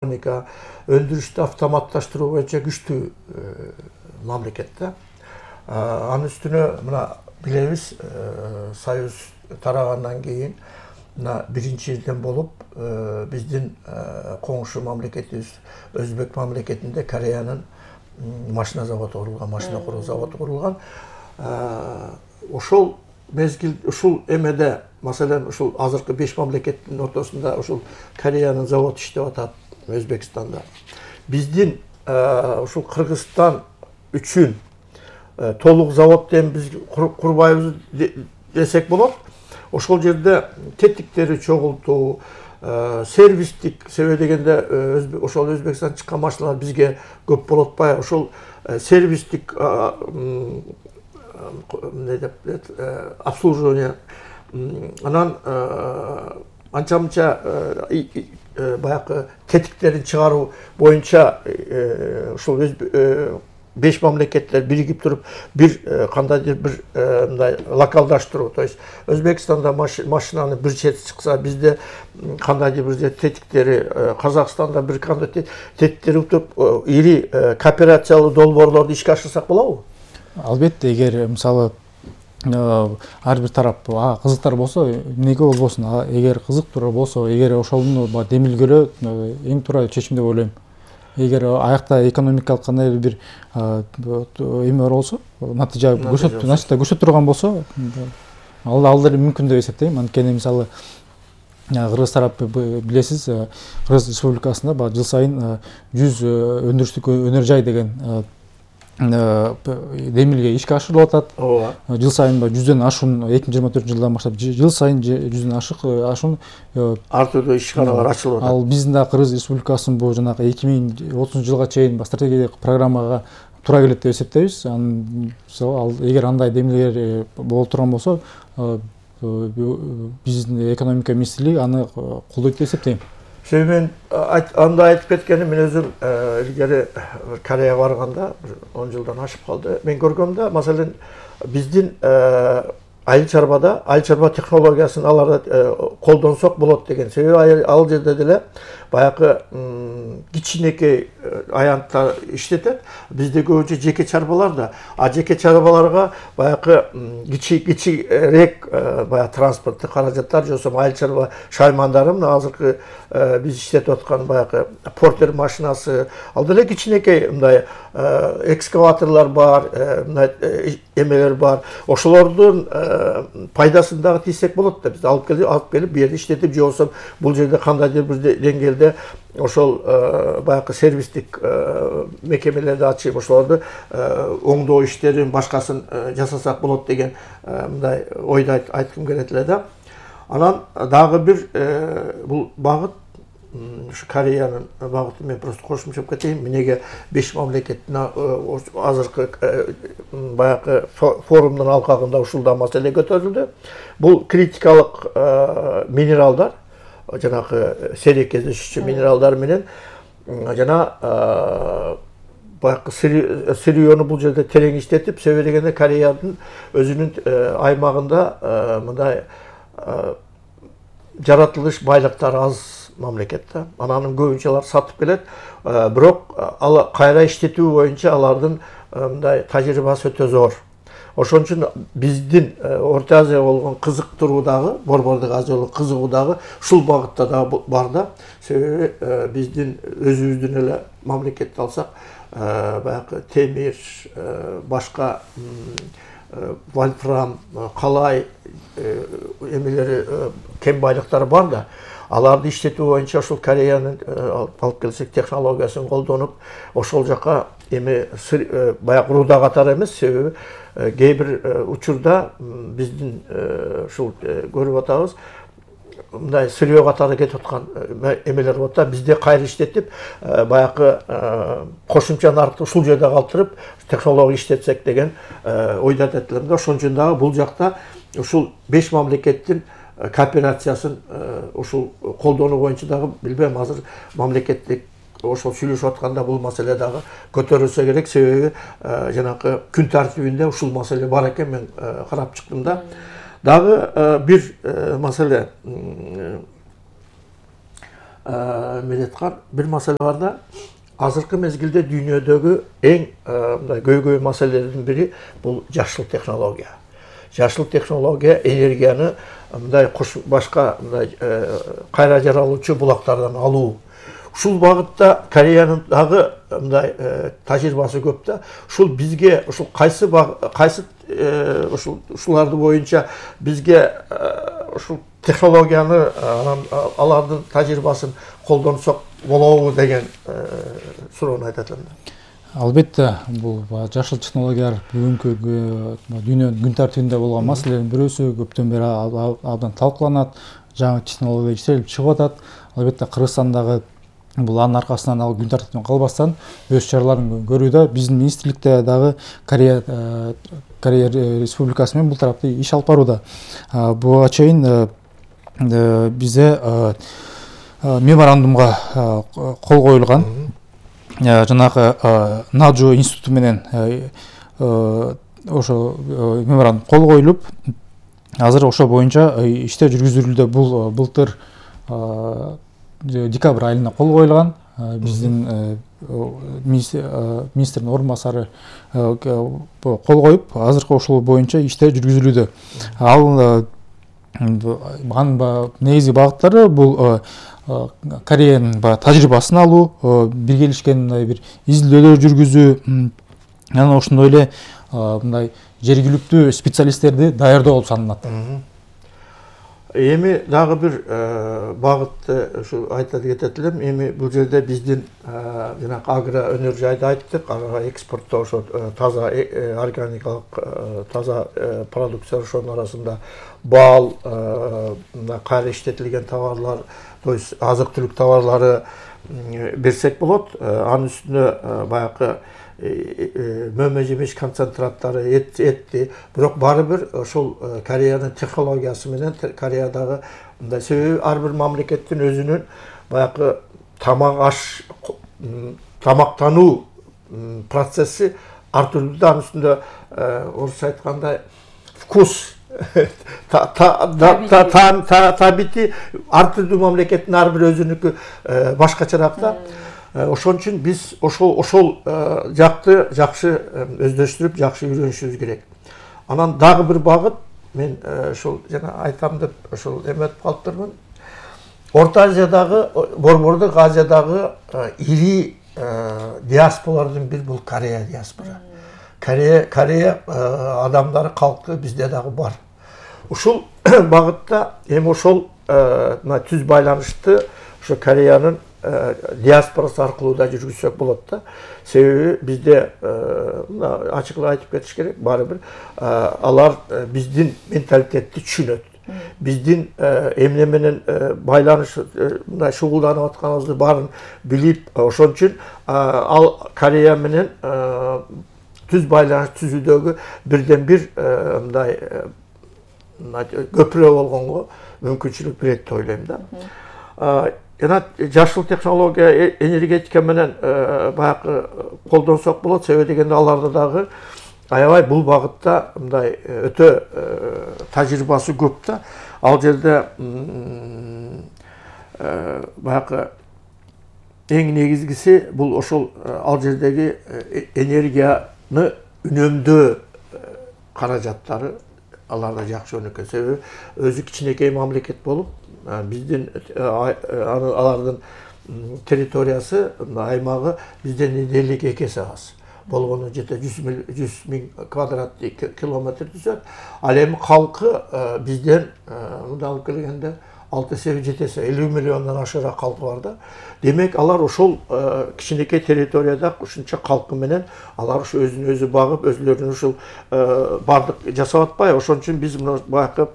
өндүрүштү автоматташтыруу боюнча күчтүү мамлекет да. Анын үстүнө мына билебиз, Союз тарагандан кийин мына биринчиден болуп биздин коңшу мамлекетибиз Өзбек мамлекетинде Кореянын машина заводу курулган, машина куруу заводу курулган. Ошол мезгил ушул эмеде, маселен, ушул азыркы 5 мамлекеттин ортосунда ушул Кореянын заводу иштеп атат Өзбекстанда. Биздин ушул Кыргызстан үчүн толук завод дем биз курбайбыз десек болот. Ошол жерде тетиктери чогултуу, сервистик, себеби дегенде ошол Өзбекстан чыккан машиналар бизге көп болуп атпайбы? Ошол сервистик обслуживание, анан анча-мынча баягы тетиктерин чыгаруу боюнча ушул 5 мамлекеттер биригип туруп бир кандайдыр бир мындай локалдаштыруу, то есть Өзбекстанда машинаны бир чети чыкса, бизде кандайдыр бир тетиктери, Казакстанда бир кандай тетиктери утуп ири кооперациялуу долбоорлорду ишке ашырсак болобу? Албетте, эгер мисалы ар бир тарап кызыктар болсо, эмнеге болбосун, эгер кызыктуу болсо, эгер ошону демилгөлөө эң туура чечим деп ойлойм. Эгер аякта экономикалык кандайдыр бир эме бар болсо, натыйжа көрсөтө турган болсо, ал деле мүмкүн деп эсептейм. Анткени мисалы Кыргыз тарап билесиз, Кыргыз Республикасында жыл сайын 100 өндүрүштүк өнөр жай деген демилге ишке ашырылып атат. Жыл сайын 100дөн ашуун 2024 жылдан баштап жыл сайын 100дөн ашуун ар түрдүү ишканалар ачылып атат. Ал биздин да Кыргыз Республикасынын бул жанагы 2030 жылга чейин стратегиялык программага туура келет деп эсептейбиз. Ал эгер андай демилгелер боло турган болсо, биздин экономика министрлиги аны колдойт деп эсептейм. Мен анда айтып кеткеним, мен өзүм илгери Кореяга барганда 10 жылдан ашып калды. Мен көргөм да, маселен, биздин айыл чарба технологиясын аларда колдонсок болот деген. Себеби ал жерде деле баягы кичинекей аянттар иштетет. Бизде көбүнчө жеке чарбалар да, жеке чарбаларга баягы кичирээк баягы транспорттук каражаттар, же болбосо айыл чарба шаймандары, мына азыркы биз иштетип аткан баягы портер машинасы, ал деле кичинекей мындай экскаваторлор бар, мындай эмелер бар. Ошолордун пайдасын дагы тийсек болот да, биз алып келип бу жерде иштетип, же болбосо бул жерде кандайдыр бир деңгээлде ошол баягы сервистик мекемелерди ачып, ошолорду оңдоо иштерин башкасын жасасак болот деген мындай ойду айткым келет эле да. Анан дагы бир бул багыт, ушу Кореянын багытын мен просто кошумчалап кетейин. Эмнеге 5 мамлекеттин азыркы баягы форумдун алкагында ушул да маселе көтөрүлдү. Бул критикалык минералдар, жанагы сейрек кездешүүчү минералдар менен жана баягы сырьёну бул жерде терең иштетип, себеби дегенде Кореянын өзүнүн аймагында мындай жаратылыш байлыктары аз мамлекет да. Анын көбүнчө алар сатып келет, бирок ал кайра иштетүү боюнча алардын мындай тажрыйбасы өтө зор. Ошон үчүн биздин Орто Азияга болгон кызыктыруу дагы, Борбордук Азия болгон кызыгуу дагы ушул багытта дагы бар да. Себеби биздин өзүбүздүн эле мамлекетти алсак, баягы темир, башка вольфрам, калай эмелери, кен байлыктары бар да. Аларды иштетүү боюнча ошол Кореянын алып келсек технологиясын колдонуп, ошол жака эми баягы руда катары эмес, себеби кээ бир учурда биздин ушул көрүп атабыз, мындай сырьё катары кетип аткан эмелер болот да. Бизде кайра иштетип, баягы кошумча наркты ушул жерде калтырып, технология иштетсек деген ойду айтат элем да. Ошон үчүн дагы бул жакта ушул 5 мамлекеттин кооперациясын ушул колдонуу боюнча дагы билбейм, азыр мамлекеттик ошол сүйлөшүп атканда бул маселе дагы көтөрүлсө керек, себеби жанагы күн тартибинде ушул маселе бар экен, мен карап чыктым да. Дагы бир маселе, медеткар бир маселе бар да. Азыркы мезгилде дүйнөдөгү эң мындай көйгөй маселелердин бири бул жашыл технология. Жашыл технология энергияны мындай башка мындай кайра жаралуучу булактардан алуу. Ушул багытта Кореянын дагы мындай тажрыйбасы көп да. Ушул бизге ушул кайсы ушуларды боюнча бизге ушул технологияны алардын тажрыйбасын колдонсок болобу деген суроону айтат элем. Албетте, бул жашыл технологиялар бүгүнкү дүйнөнүн күн тартибинде болгон маселелердин бирөөсү, көптөн бери абдан талкууланат, жаңы технология иштелип чыгып атат. Албетте, Кыргызстандагы бул анын аркасынан ал күн тартибинен калбастан өз чараларын көрүүдө. Биздин министрликте дагы Корея Республикасы менен бул тарапта иш алып барууда. Буга чейин бизде меморандумга кол коюлган. Жанагы Наджо институту менен ошо меморандум кол коюлуп, азыр ошо боюнча иштер жүргүзүлүүдө. Бул былтыр декабрь айында кол коюлган. Биздин министрдин орун басары кол коюп, азыркы ошол боюнча иштер жүргүзүлүүдө. Ал анын негизги багыттары бул Кореянын тажрыйбасын алуу, биргелишкен бир изилдөөлөр жүргүзүү, анан ошондой эле мындай жергиликтүү специалисттерди даярдоо болуп саналат. Эми дагы бир багытты ушу айтып кетет элем. Эми бул жерде биздин жана агро өнөр жайды айттык, ага экспорттоо ошо таза органикалык таза продукция, ошонун арасында бал, кайра иштетилген товарлар, то есть азык-түлүк товарлары берсек болот. Анын үстүнө баягы мөмө жемиш концентраттары, этти, бирок баары бир ошол Кореянын технологиясы менен Кореядагы мындай себеби ар бир мамлекеттин өзүнүн баягы тамактануу процесси ар түрдүү да. Анын үстүндө орусча айткандай вкус табити ар түрдүү мамлекеттин ар бир өзүнүкү башкачараак да. Ошон үчүн биз ошол жакты жакшы өздөштүрүп, жакшы үйрөнүшүбүз керек. Анан дагы бир багыт, мен ошол жана айтам деп ошол эметип калыптырмын. Орто Азиядагы, Борбордук Азиядагы ири диаспоралардын бири бул Корея диаспора. Корея адамдары, калкы бизде дагы бар. Ушул багытта эми ошол түз байланышты ошо Кореянын диаспорасы аркылуу да жүргүзсөк болот да. Себеби бизде ачыгыраак айтып кетиш керек, баары бир алар биздин менталитетти түшүнөт. Биздин эмне менен байланыш мындай шугулданып атканыбызды баарын билип, ошон үчүн ал Корея менен түз байланыш түзүүдөгү бирден бир мындай көпүрө болгонго мүмкүнчүлүк берет деп ойлойм да. Жана жашыл технология, энергетика менен баягы колдонсок болот. Себеби дегенде аларда дагы аябай бул багытта мындай өтө тажрыйбасы көп да. Ал жерде баягы эң негизгиси бул ошол ал жердеги энергияны үнөмдөө каражаттары аларда жакшы өнөкөй. Себеби өзү кичинекей мамлекет болуп, биздин алардын территориясы, аймагы бизден 52 эсе аз. Болгону жете 100 миң квадрат километр түзөт. Ал эми калкы бизден мындай алып келгенде 6-7 эсе 50 миллиондон ашыраак калкы бар да. Демек алар ошол кичинекей территорияда ушунча калкы менен алар ушу өзүн өзү багып, өзүлөрүнүн ушул бардык жасап атпайбы. Ошон үчүн биз мына баягы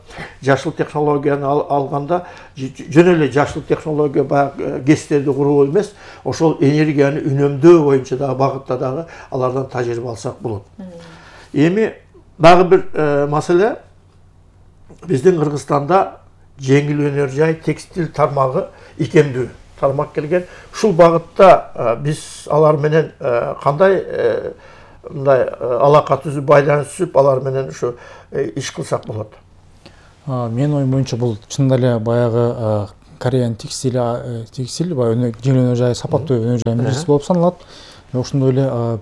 жашыл технологияны алганда жөн эле жашыл технология баягы ГЭСтерди куруу эмес, ошол энергияны үнөмдөө боюнча дагы багытта дагы алардан тажрыйба алсак болот. Эми дагы бир маселе, биздин Кыргызстанда жеңил өнөр жай, текстиль тармагы икемдүү тармак келген. Ушул багытта биз алар менен кандай мындай алака түзүп, байланыш түзүп, алар менен ушу иш кылсак болот? Менин оюм боюнча бул чындап эле баягы Кореянын текстиль баягы жеңил өнөр жайы, сапаттуу өнөр жайынын биринчиси болуп саналат. Ошондой эле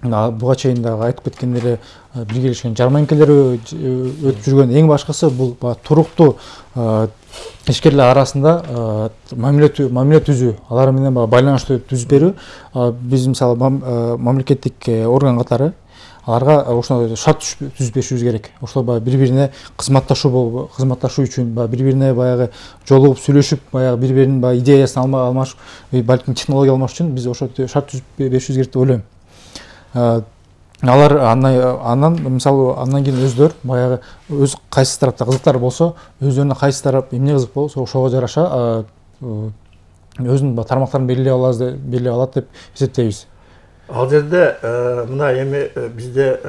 буга чейин дагы айтып кеткендей эле биргелешкен жарманкелер өтүп жүргөн. Эң башкысы бул туруктуу ишкерлер арасында мамиле түзүү, алар менен байланыштуу түзүп берүү. Биз мисалы мамлекеттик орган катары аларга ошондой шарт түзүп беришибиз керек. Ошол бири-бирине кызматташуу үчүн, бири-бирине баягы жолугуп сүйлөшүп, баягы бири-биринин идеясын алмашып, балким технология алмаш үчүн биз ошо шарт түзүп беришибиз керек деп ойлойм. Алар андан мисалы андан кийин өздөрү баягы өз кайсы тарапта кызыктар болсо, өздөрүнө кайсы тарап эмне кызык болсо ошого жараша өзүнүн тармактарын белгилей алат деп эсептейбиз. Ал жерде мына эми бизде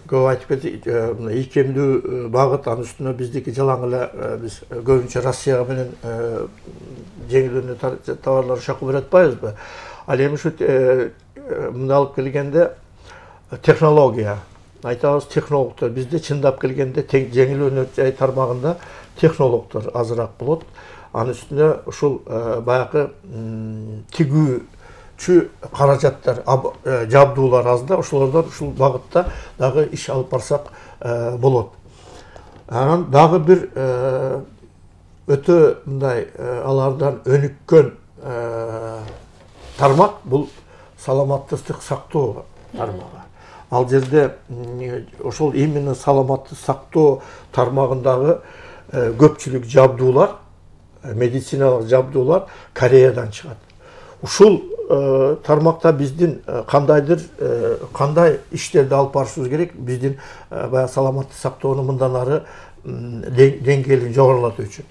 көп айтып кеттик, мына ийкемдүү багыт, анын үстүнө биздики жалаң эле биз көбүнчө Россияга менен жеңил өнөр товарларын чакырып жатпайбызбы? Ал эми ушу мына алып келгенде технология айтабыз, технологдор бизде чындап келгенде жеңил өнөр жай тармагында технологдор азыраак болот. Анын үстүнө ушул баягы тигүүчү каражаттар, жабдуулар аз да, ошолордон ушул багытта дагы иш алып барсак болот. Анан дагы бир өтө мындай алардан өнүккөн тармак бул саламаттык сактоо тармагы. Ал жерде ошол именно саламаттык сактоо тармагындагы көпчүлүк жабдуулар, медициналык жабдуулар Кореядан чыгат. Ушул тармакта биздин кандай иштерди алып барышыбыз керек? Биздин баягы саламаттык сактоону мындан ары деңгээлин жогорулатуу үчүн.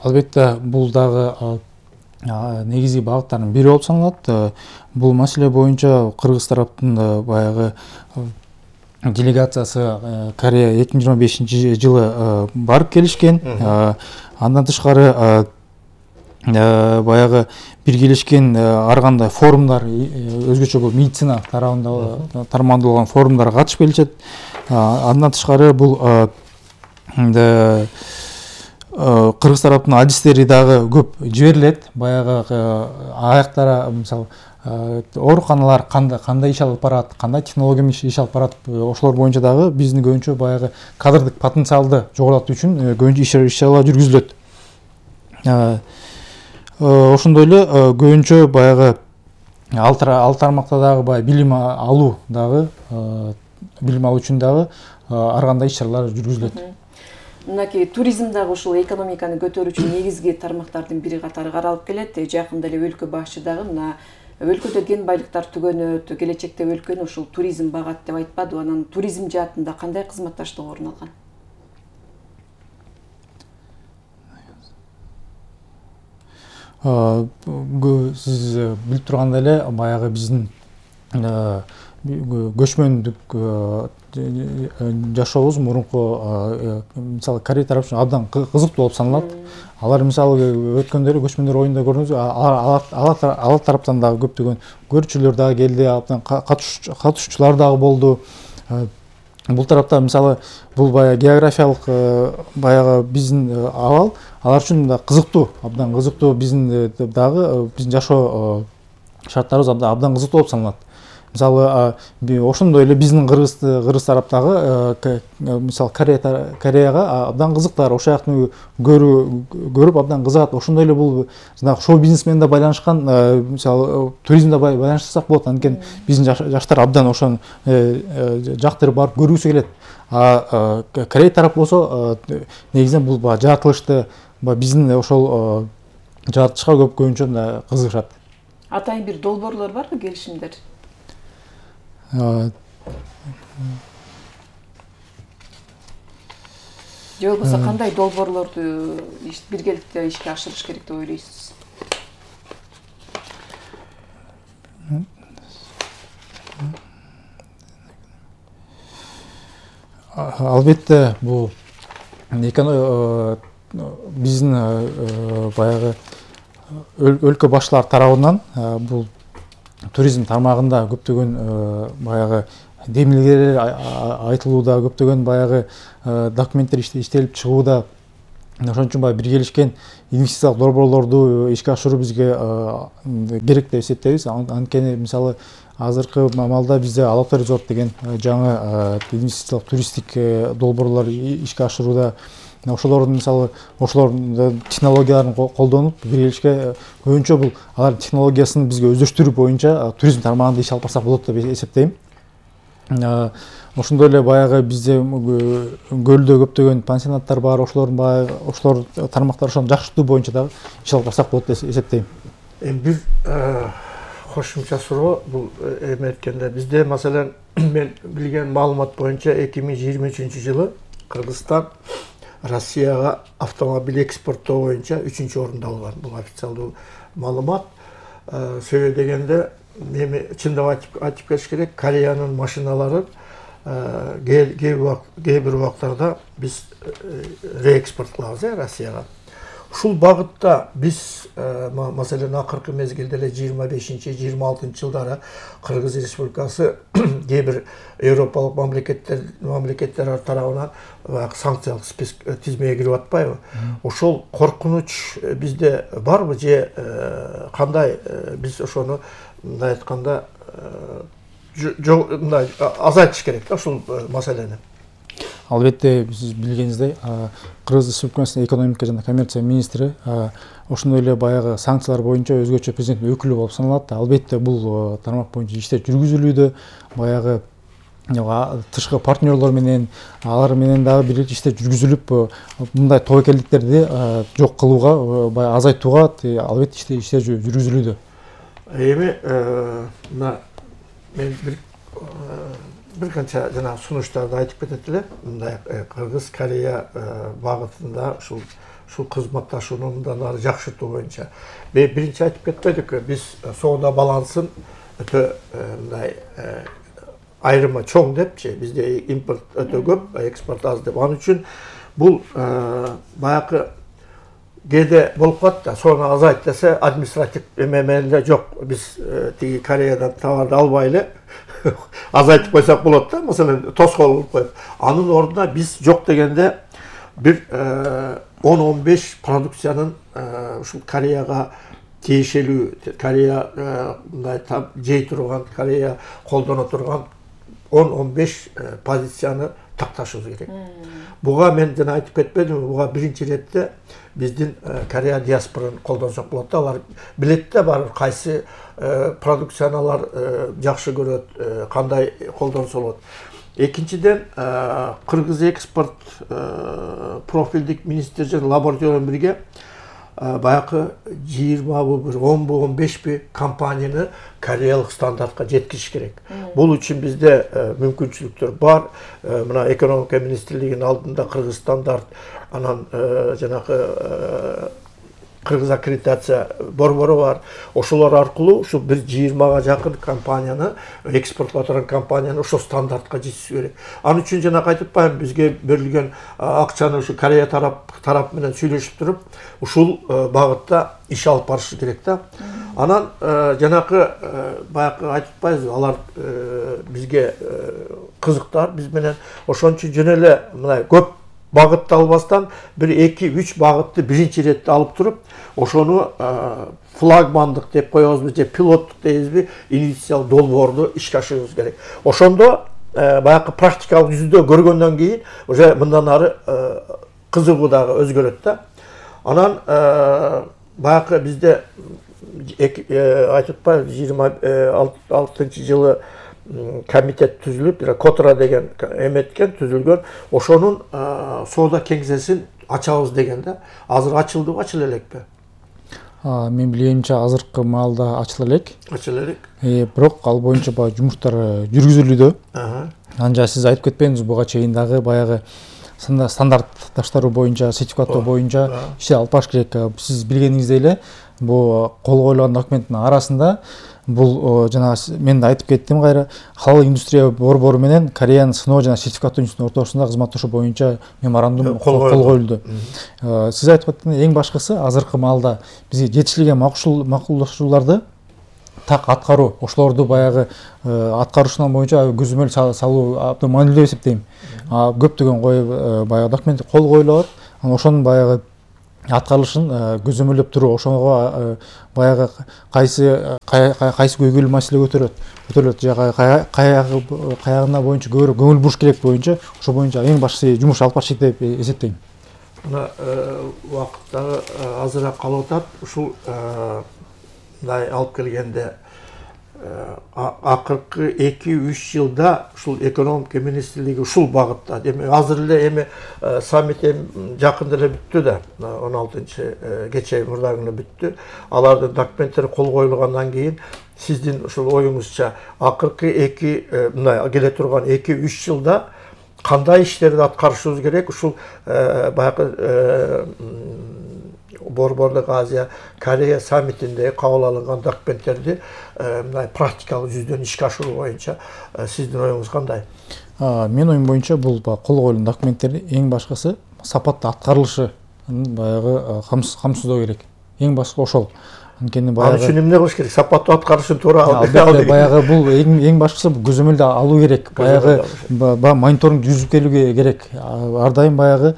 Албетте бул дагы негизги багыттардын бири болуп саналат. Бул маселе боюнча кыргыз тараптын баягы делегациясы Корея 2025 жылы барып келишкен. Андан тышкары баягы биргелешкен ар кандай форумдар, өзгөчө бул медицина тарабында тармакталган форумдарга катышып келишет. Андан тышкары бул кыргыз тараптын адистери дагы көп жиберилет. Баягы аяктара мисалы ооруканалар кандай иш алып барат, кандай технология менен иш алып барат, ошолор боюнча дагы биздин көбүнчө баягы кадрдык потенциалды жогорулатуу үчүн көбүнчө иш-чаралар жүргүзүлөт. Ошондой эле көбүнчө баягы ал тармакта дагы баягы билим алуу үчүн дагы ар кандай иш-чаралар жүргүзүлөт. Мынакей туризм дагы ушул экономиканы көтөрүүчү негизги тармактардын бири катары каралып келет. Жакында эле өлкө башчы дагы мына өлкөдө кен байлыктар түгөнөт, келечекте өлкөнү ушул туризм багат деп айтпадыбы? Анан туризм жаатында кандай кызматташтык орун алган? Сиз билип тургандай эле баягы биздин көчмөндүк жашообуз мурунку мисалы Корея тарапы үчүн абдан кызыктуу болуп саналат. Алар мисалы өткөндө эле көчмөндөр оюнда көрдүңүз, алар тараптан дагы көптөгөн көрүүчүлөр дагы келди, абдан катышуучулар дагы болду. Бул тарапта мисалы бул баягы географиялык баягы биздин абал алар үчүн да кызыктуу, абдан кызыктуу, биздин дагы биздин жашоо шарттарыбыз абдан кызыктуу болуп саналат. Мисалы ошондой эле биздин кыргыз тараптагы мисалы Кореяга абдан кызыктар, ошол жактын көрүп абдан кызыгат. Ошондой эле бул жанагы шоу бизнес менен да байланышкан, мисалы туризмде байланыштырсак болот. Анткени биздин жаштар абдан ошону жактырып барып көргүсү келет. Корея тарап болсо негизинен бул жаратылышты биздин ошол жаратылышка көбүнчө кызыгышат. Атайын бир долбоорлор барбы, келишимдер? Же болбосо кандай долбоорлорду биргеликте ишке ашырыш керек деп ойлойсуз? Албетте бул биздин баягы өлкө башчылар тарабынан бул туризм тармагында көптөгөн баягы демилгелер айтылууда, көптөгөн баягы документтер иштелип чыгууда. ошон үчүн баягы биргелешкен инвестициялык долбоорлорду ишке ашыруу бизге керек деп эсептейбиз. Анткени мисалы азыркы маалда бизде Алатау резорт деген жаңы инвестициялык туристтик долбоорлор ишке ашырууда. Ошолордун мисалы ошолордун технологияларын колдонуп биргелешке көбүнчө бул алардын технологиясын бизге өздөштүрүү боюнча туризм тармагында иш алып барсак болот деп эсептейм. Ошондой эле баягы бизде көлдө көптөгөн пансионаттар бар, ошолор тармактар ошону жакшыртуу боюнча дагы иш алып барсак болот деп эсептейм. Бир кошумча суроо бул эме айтканда бизде маселен мен билген маалымат боюнча 2023-жылы Кыргызстан Россияга автомобиль экспорттоо боюнча 3-орунду алган. Бул официалдуу маалымат. Себеби дегенде эми чындап айтып кетиш керек, Кореянын машиналарын кээ бир убактарда биз реэкспорт кылабыз Россияга. Ушул багытта биз маселен акыркы мезгилде эле 25-26-жылдары Кыргыз Республикасы кээ бир Европалык мамлекеттер тарабынан санкциялык тизмеге кирип атпайбы? Ошол коркунуч бизде барбы же кандай биз ошону мындай айтканда мындай азайтыш керек да ушул маселени? Албетте сиз билгениңиздей Кыргыз Республикасынын экономика жана коммерция министри ошондой эле баягы санкциялар боюнча өзгөчө президенттин өкүлү болуп саналат. Албетте бул тармак боюнча иштер жүргүзүлүүдө, баягы тышкы партнерлор менен алар менен дагы бирге иштер жүргүзүлүп, мындай тобокелдиктерди жок кылууга, баягы азайтууга албетте иштер жүргүзүлүүдө. Эми мына мен бир канча жана сунуштарды айтып кетет эле. Мындай Кыргыз Корея багытында ушул кызматташууну мындан ары жакшыртуу боюнча. Биринчи айтып кетпедикпи, биз соода балансын өтө мындай айрымы чоң депчи, бизде импорт өтө көп, экспорт аз деп. Анын үчүн бул баягы кээде болуп калат да, соону азайт десе административ эме жок. Биз тиги Кореядан товарды албай эле азайтып койсок болот да, маселен тоскоол кылып коюп. Анын ордуна биз жок дегенде бир 10-15 продукциянын ушул Кореяга тиешелүү, Корея мындай жей турган, Корея колдоно турган 10-15 позицияны такташыбыз керек. Буга мен жана айтып кетпедимби, буга биринчи иретте биздин Корея диаспораны колдонсок болот да. Алар билет да бар кайсы продукцияны алар жакшы көрөт, кандай колдонсо болот. Экинчиден, Кыргыз экспорт профилдик министр жана лаборатория менен бирге баягы 20бы, 10бы, 15бы компанияны кореялык стандартка жеткизиш керек. Бул үчүн бизде мүмкүнчүлүктөр бар. Мына экономика министрлигинин алдында Кыргыз стандарт, анан жанагы Кыргыз аккредитация борбору бар. Ошолор аркылуу ушу бир 20га жакын компанияны, экспортлоп турган компанияны ошол стандартка жеткизиш керек. Анын үчүн жана айтып атпаймынбы, бизге берилген акчаны ушу Корея тарап менен сүйлөшүп туруп, ушул багытта иш алып барыш керек да. Анан жанагы баягы айтып атпайбызбы, алар бизге кызыктар, биз менен ошон үчүн жөн эле мындай көп багытты албастан бир 2-3 багытты биринчи иретте алып туруп, ошону флагмандык деп коебузбу же пилоттук дейбизби, инвестициялык долбоорду ишке ашырыбыз керек. Ошондо баягы практикалык жүзүндө көргөндөн кийин уже мындан ары кызыгуу дагы өзгөрөт да. Анан баягы бизде айтып атпайбы, 26-жылы комитет түзүлүп, Котра деген эметкен түзүлгөн, ошонун соода кеңсесин ачабыз деген да. Азыр ачылдыбы, ачыла элекпи? Мен билгенимче азыркы маалда ачыла элек. Ачыла элек. Бирок ал боюнча баягы жумуштар жүргүзүлүүдө. Анжа сиз айтып кетпедиңиз, буга чейин дагы баягы стандартташтыруу боюнча, сертификаттоо боюнча ишти алып барыш керек. Сиз билгениңиздей эле, бул кол коюлган документтин арасында бул жана мен да айтып кеттим кайра, халал индустрия борбору менен Кореянын сыноо жана сертификаттоо институтунун ортосунда кызматташуу боюнча меморандум кол коюлду. Сиз айтып аткандай, эң башкысы азыркы маалда бизге жетишилген макулдашууларды так аткаруу, ошолорду баягы аткарушунан боюнча көзөмөл салуу абдан маанилүү деп эсептейм. Көптөгөн баягы документ кол коюлат, анан ошонун баягы аткарылышын көзөмөлдөп туруу, ошого баягы кайсы көйгөйлүү маселе көтөрүлөт же каягына боюнча көбүрөөк көңүл буруш керек боюнча, ошо боюнча эң башкысы жумуш алып барышат деп эсептейм. Мына убакыттагы азыраак калып атат. Ушул мындай алып келгенде акыркы 2-3 жылда ушул экономика министрлиги ушул багытта. Демек азыр эле эми саммит жакында эле бүттү да, 16-кечээ мурдагы бүттү. Алардын документтери кол коюлгандан кийин сиздин ушул оюңузча акыркы мындай келе турган 2-3 жылда кандай иштерди аткарышыбыз керек? Ушул баягы Борборлук Азия Корея саммитинде кабыл алынган документтерди мындай практикалык жүздөн ишке ашыруу боюнча сиздин оюңуз кандай? Менин оюм боюнча бул кол коюлган документтердин эң башкысы сапаттуу аткарылышы баягы камсыздоо керек. Эң башкы ошол. Анткени Ал үчүн эмне кылыш керек? Сапаттуу аткарышын туура албетте баягы бул эң башкысы көзөмөлдө алуу керек. Баягы мониторинг жүргүзүп келүү керек. Ар дайым баягы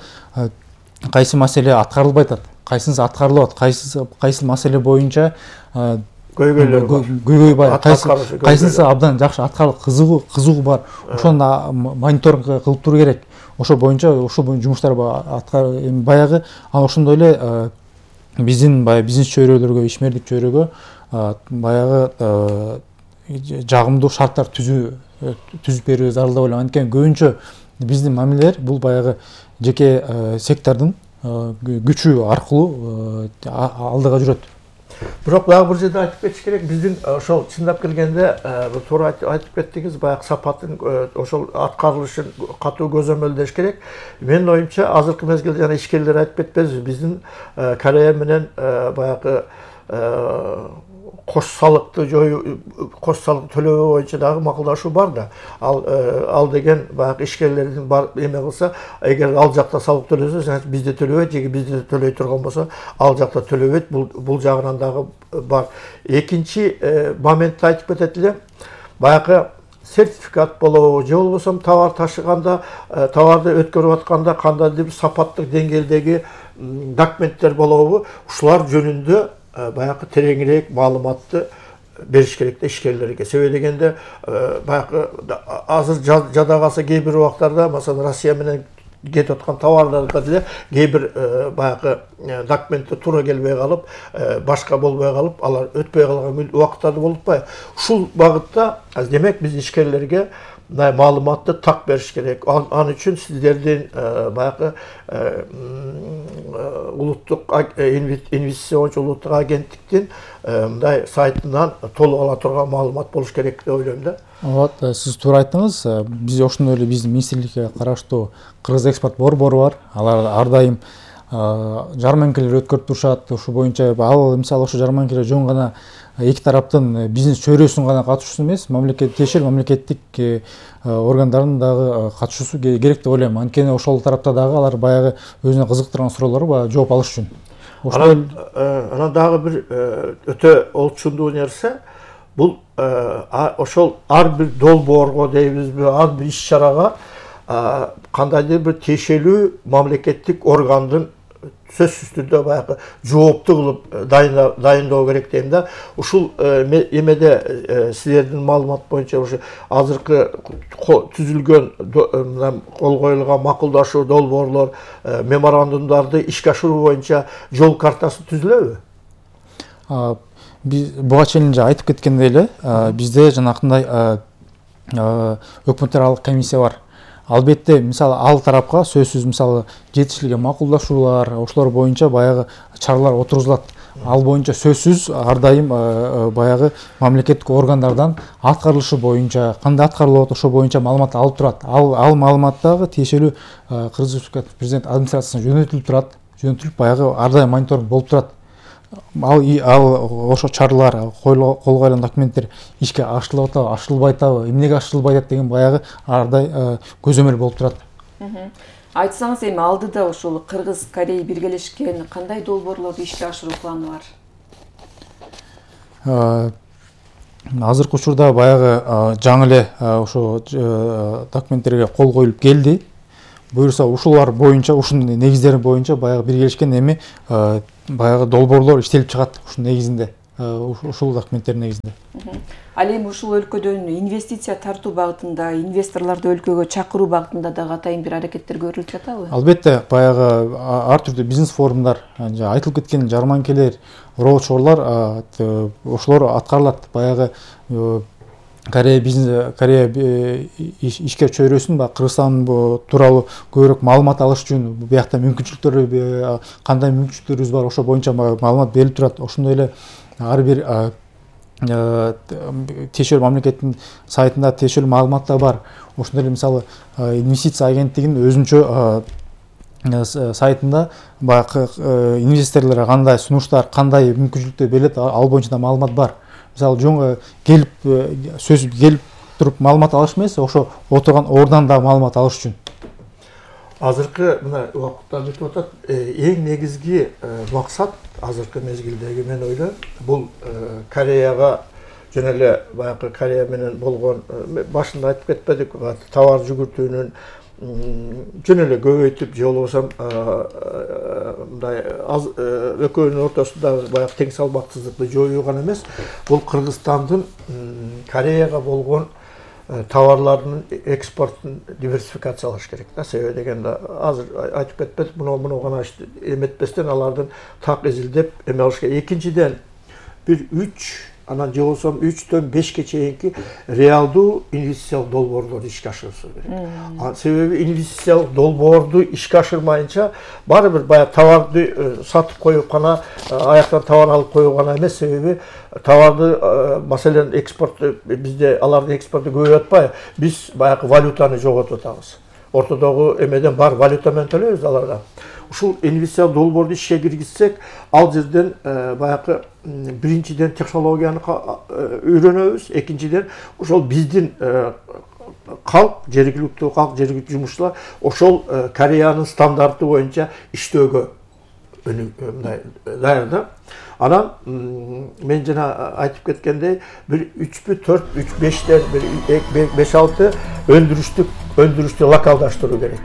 кайсы маселе аткарылбай атат, кайсынысы аткарылып атат, кайсы маселе боюнча көйгөй бар, кайсынысы абдан жакшы аткарылып кызыгуу бар. Ошону мониторинг кылып туруу керек. Ошол боюнча жумуштар баягы ошондой эле биздин бизнес чөйрөлөргө, ишмердик чөйрөгө баягы жагымдуу шарттар түзүп берүү зарыл деп ойлойм. Анткени көбүнчө биздин мамилелер бул баягы жеке сектордун күчү аркылуу алдыга жүрөт. Бирок дагы бир жерде айтып кетиш керек, биздин ошол чындап келгенде туура айтып кеттиңиз, баягы сапатын ошол аткарылышын катуу көзөмөлдөш керек. Менин оюмча азыркы мезгилде жана ишкерлер айтып кетпезби, биздин Корея менен баягы кош салыкты төлөө боюнча дагы макулдашуу бар да. Ал деген баягы ишкерлердин эме кылса, эгер ал жакта салык төлөсө, значит бизде төлөбөйт, же бизде төлөй турган болсо, ал жакта төлөбөйт. Бул жагынан дагы бар. Экинчи моментти айтып кетет элем. Баягы сертификат болобу, же болбосо товар ташыганда, товарды өткөрүп атканда кандайдыр бир сапаттык деңгээлдеги документтер болобу, ушулар жөнүндө баягы тереңирээк маалыматты бериш керек да ишкерлерге. Себеби дегенде баягы азыр жада калса кээ бир убактарда, маселен, Россия менен кетип аткан товарларга деле кээ бир баягы документти туура келбей калып, башка болбой калып, алар өтпөй калган убакыттарды болуп атпайбы? Ушул багытта демек биз ишкерлерге мындай маалыматты так бериш керек. Ал үчүн сиздердин баягы улуттук инвестициончу улуттук агенттиктин мындай сайтынан толук ала турган маалымат болуш керек деп ойлойм да. Вот, сиз туура айттыңыз. Биз ошондой эле биздин министрликке караштуу Кыргыз экспорт борбору бар. Алар ар дайым жарманкелер өткөрүп турушат. Ошол боюнча ал мисалы ошо жарманкелер жөн гана эки тараптын бизнес чөйрөсүнүн гана катышуусу эмес, тиешелүү мамлекеттик органдардын дагы катышуусу керек деп ойлойм. Анткени ошол тарапта дагы алар баягы өзүнө кызыктырган суроолорго баягы жооп алыш үчүн. Анан дагы бир өтө олчундуу нерсе, бул ошол ар бир долбоорго дейбизби, ар бир иш-чарага кандайдыр бир тиешелүү мамлекеттик органдын сөзсүз түрдө баягы жоопту кылып дайындоо керек дейм да. Ушул эмеде силердин маалымат боюнча ушу азыркы түзүлгөн кол коюлган макулдашуу долбоорлор, меморандумдарды ишке ашыруу боюнча жол картасы түзүлөбү? Буга чейин айтып кеткендей эле, бизде жанакындай өкмөт аралык комиссия бар. Албетте, мисалы, ал тарапка сөзсүз мисалы жетишилген макулдашуулар, ошолор боюнча баягы чаралар отургузулат. Ал боюнча сөзсүз ар дайым баягы мамлекеттик органдардан аткарылышы боюнча, кандай аткарылып атат, ошол боюнча маалымат алып турат. Ал маалымат дагы тиешелүү Кыргыз Республикасы президент администрациясына жөнөтүлүп турат. Жөнөтүлүп баягы ар дайым мониторинг болуп турат. Ал ошо чаралар, кол коюлган документтер ишке ашырылып атабы, ашырылбай атабы, эмнеге ашырылбай атат деген баягы ар дайым көзөмөл болуп турат. Айтсаңыз, эми алдыда ушул Кыргыз, Корея биргелешкен кандай долбоорлорду ишке ашыруу планы бар? Азыркы учурда баягы жаңы эле ошо документтерге кол коюлуп келди. буюрса ушулар боюнча, ушунун негиздери боюнча баягы биргелешкен эми баягы долбоорлор иштелип чыгат ушунун негизинде, ушул документтер негизинде. Ал эми ушул өлкөдөн инвестиция тартуу багытында, инвесторлорду өлкөгө чакыруу багытында дагы атайын бир аракеттер көрүлүп жатабы? Албетте, баягы ар түрдүү бизнес форумдар, айтылып кеткен жарманкелер, роудшоулар ошолор аткарылат. Баягы Корея ишкер чөйрөсүн Кыргызстан тууралуу көбүрөөк маалымат алыш үчүн биякта мүмкүнчүлүктөр кандай мүмкүнчүлүктөрүбүз бар, ошо боюнча маалымат берилип турат. Ошондой эле ар бир тиешелүү мамлекеттин сайтында тиешелүү маалымат да бар. Ошондой эле мисалы инвестиция агенттигинин өзүнчө сайтында баягы инвесторлорго кандай сунуштар, кандай мүмкүнчүлүктөр берилет, ал боюнча да маалымат бар. Мисалы жөн келип туруп маалымат алыш эмес, ошо отурган ордон да маалымат алыш үчүн. Азыркы мына убакытта өтүп атат, эң негизги максат азыркы мезгилдеги мен ойлойм, бул Кореяга жана эле баягы Корея менен болгон, башында айтып кетпедик, товар жүгүртүүнүн жөн эле көбөйтүп, же болбосо мындай экөөнүн ортосундагы баягы тең салмактуулукту жоюу гана эмес, бул Кыргызстандын Кореяга болгон товарлардын экспортун диверсификациялаш керек да. Себеби дегенде азыр айтып кетпедик, муну гана эметпестен алардын так изилдеп эме алыш керек. Экинчиден бир 3 анан же болбосо 3-төн 5ке чейинки реалдуу инвестициялык долбоорлорду ишке ашырышыбыз керек. Себеби инвестициялык долбоорду ишке ашырмайынча баары бир баягы товарды сатып коюп гана, аяктан товар алып коюу гана эмес. Себеби товарды, маселен, экспортту бизде алардын экспорту көбөйүп атпайбы? Биз баягы валютаны жоготуп атабыз. Ортодогу эмеден бар валюта менен төлөйбүз аларга. Ушул инвестициялык долбоорду ишке киргизсек, ал жерден баягы биринчиден технологияны үйрөнөбүз, экинчиден ошол биздин калк, жергиликтүү калк, жергиликтүү жумушчулар ошол Кореянын стандарты боюнча иштөөгө мындай даяр да. Анан мен жана айтып кеткендей, бир 3-4, 3-5тен бир 5-6 өндүрүштү локалдаштыруу керек.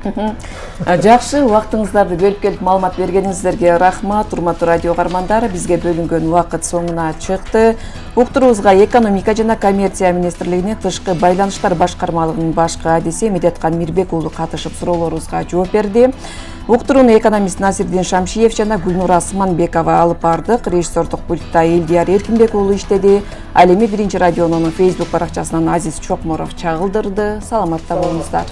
Жакшы, убактыңыздарды бөлүп келип маалымат бергениңиздерге рахмат. Урматтуу радио каармандар, бизге бөлүнгөн убакыт соңуна чыкты. Уктуруубузга экономика жана коммерция министрлигинин тышкы байланыштар башкармалыгынын баш кадиси Медеткан Мирбек уулу катышып суроолорубузга жооп берди. Уктурууну экономист Насирдин Шамшиев жана Гүлнура Асманбекова алып бардык. Режиссердук пультта Элдияр Эркинбек уулу иштеди. Ал эми Биринчи радионун Facebook баракчасынан Азиз Чокморов чагылдырды. Саламатта болуңуздар.